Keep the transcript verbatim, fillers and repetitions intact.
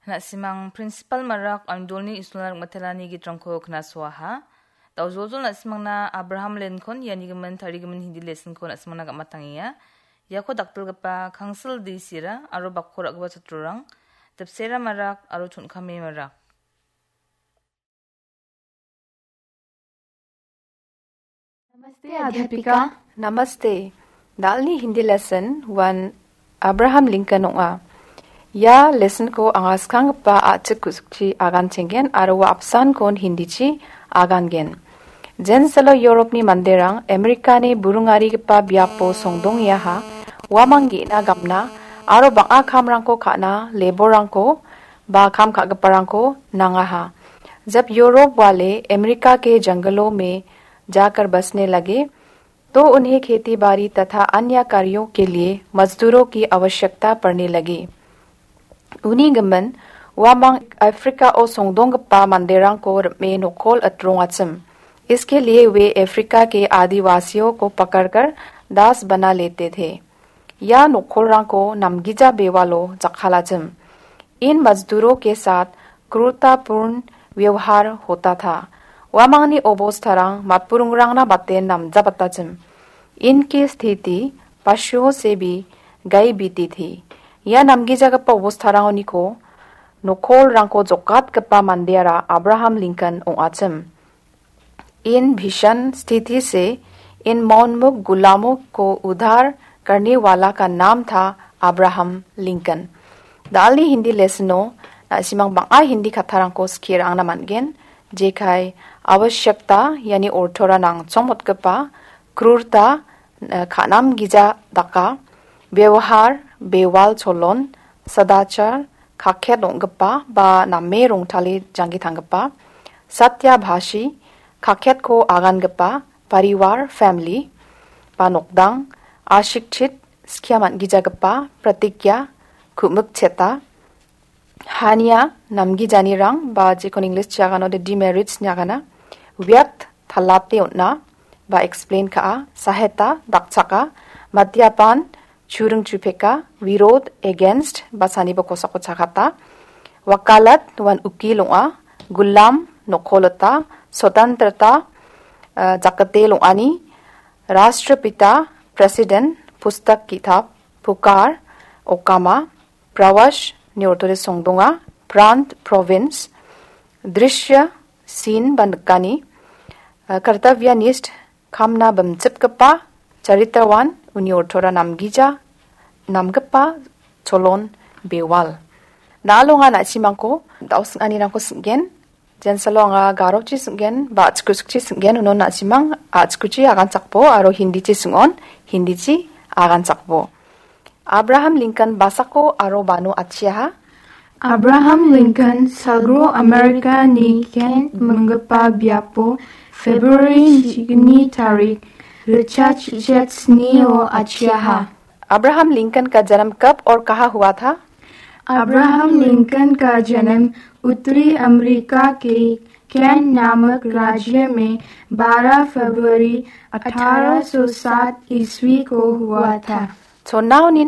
Na·simang Principal Marak Angdolni Isuna Rikmatelani gitrangko knasoaha. Daojoljol na·simangna Abraham Lincoln ianigimin tarigimin Hindi lesson-ko na·simangna gam·atangenga. Iako dakdilgipa Kangsil D C-ra aro bakko ra·gipa chatrorang, Dipsera Marak aro Chon·kame Marak. Namaste, Adhyapika. Namaste. Dalni Hindi lesson one Abraham Lincoln ong·a. Ia lesson-ko anga skanggipa a·chik ku·sukchi aganchenggen aro ua apsankon Hindichi agangen. Jensalo Europni manderang Amerikani burungarigipa biapo songdongengaha, uamang ge·na gamna aro bang·a kamrangko ka·na labour-rangko ba kam ka·giparangko nangaha. जब यूरोप वाले अमेरिका के जंगलों में जाकर बसने लगे, तो उन्हें खेती बाड़ी तथा अन्य कार्यों के लिए मजदूरों की आवश्यकता पड़ने लगी। Uni gimin, uamang Afrika-o songdonggipa manderangko rime nokol atrongachim. इसके लिए वे अफ्रीका के आदिवासियों को पकड़कर दास बना लेते थे। Ia nokolrangko namgija bewalo jakkalachim. इन मजदूरों के साथ क्रूरतापूर्ण व्यवहार होता था। Uamangni obostarang matburingrangna bate namjabatachim. इनकी स्थिति पशुओं से भी गई बीती थी। Ia namgijagipa obostarangoniko nokolrangko jokatgipa mandeara Abraham Lincoln ong·achim. इन भीषण स्थिति से इन मौनमुख गुलामों को उद्धार करने वाला का नाम था Abraham Lincoln. Dalni Hindi lesson-o na·simang bang·a Hindi kattarangko skie ra·angna man·gen. Jekai आवश्यकता, iani ortora nangchongmotgipa, क्रूरता, eh, ka·namgija daka, व्यवहार, bewal cholon, सदाचार, kakket ong·gipa ba name rongtale janggi tanggipa, सत्यभाषी, kakketko agangipa, परिवार, family, ba nokdang, अशिक्षित, skia man·gijagipa, प्रतिज्ञा, ku·mikcheta, हानिया, namgijanirang, ba jekon English-chi aganode demerits ine agana, व्यर्थ, talate on·a, ba explain ka·a, सहायता, dakchaka, मद्यपान, churing chupeka, विरोध, against, ba saniba kosako chakata, वकालत, uan ukil ong·a, गुलाम, nokolota, स्वतंत्रता, eh, jakate long·ani, राष्ट्रपिता, president, पुस्तक, किताब, पुकार, okama, प्रवश, ine ortode songdonga, प्रांत, province, दृश्य, scene, ba nikani, eh, कर्तव्यनिष्ठ, kamna bimchipgipa, चरित्रवान, uni ortora namgija, namgipa, cholon, bewal. Nalonga na·simangko da·o sing·anirangko sing·gen. Jensalo anga Garochi sing·gen, ba a·chikuchikchi sing·gen, unon na·simang a·chikuchi aganchakbo, aro Hindichi sing·on, Hindichi aganchakbo. Abraham Lincoln basako aro bano atchiaha. Abraham Lincoln sagro Amerikani Kent minggipa biapo February chikni tarik richa chichet snio atchiaha. Abraham Lincoln का जन्म कब और कहाँ हुआ था? Abraham Lincoln का जन्म उत्तरी अमेरिका के कैंट नामक राज्य में बारह फरवरी अठारह सौ सात ईस्वी को हुआ था। Chonao nin